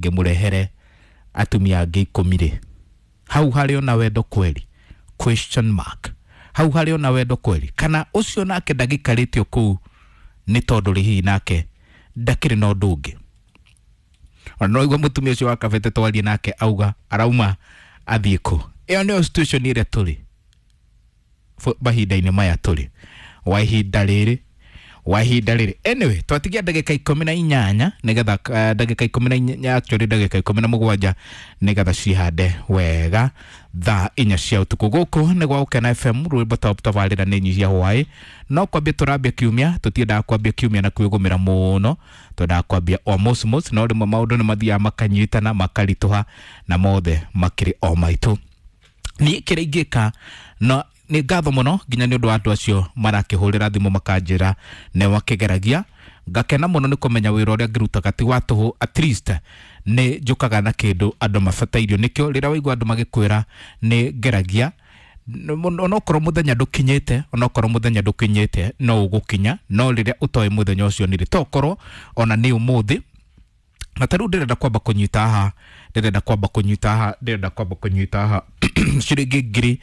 Ngĩmũrehere atumia angĩ 10 rĩ, hau harĩ ona wendo kweli? Question mark. Hau harĩ ona wendo kweli? Kana ũcio nake ndagĩkarĩtio kũu nĩ tondũ rĩ, hihi nake ndakĩrĩ na ũndũ ũngĩ? Ona no igua mũtumia ũcio wa Kabete twarie nake auga arauma athiĩ kũ. Ĩyo nĩyo situation ĩrĩa tũrĩ mahinda-inĩ maya, tũrĩ wa ihinda rĩrĩ, wa ihinda rĩrĩ. Anyway, twatigia ndagĩka 18 nĩgetha ndagĩka 14, actually ndagĩka 17, nĩgetha cihande wega thaa 4 cia ũtukũ. Gũkũ nĩ gwa Gũkena FM, rwĩmbo top tabarĩra nĩ nyihia hwaĩ. No kwambia tũrambia kiumia, tũtiendaga kwambia kiumia na kwĩgũmĩra mũno, twendaga kwambia o mosmos, no rĩmwe maũndũ nĩ mathiaga makanyitana makaritũha, na mothe makĩrĩ o maitũ. Niĩ kĩrĩa ingĩka no nĩ ngatho mũno nginya nĩ ũndũ wa andũ acio marakĩhũrĩra thimũ makanjĩra nĩ makĩgeragia. Ngakena mũno nĩ kũmenya wĩra ũrĩa ngĩrutaga ti wa tũhũ, at least nĩ njũkaga na kĩndũ andũ mabatairio nĩkĩo. Rĩrĩa waigua andũ magĩkwĩra nĩ ngeragia, onokorwo mũthenya ndũkinyĩte, onokorwo mũthenya ndũkinyĩte, no ũgũkinya. No rĩrĩa ũtoĩ mũthenya ũcio nĩ rĩ, tokorwo ona nĩ ũmũthĩ. Na ta rĩu ndĩrenda kwamba kũnyita haha, ndĩrenda kwamba kũnyita haha, ndĩrenda kwamba kũnyita haha ciringi 1000.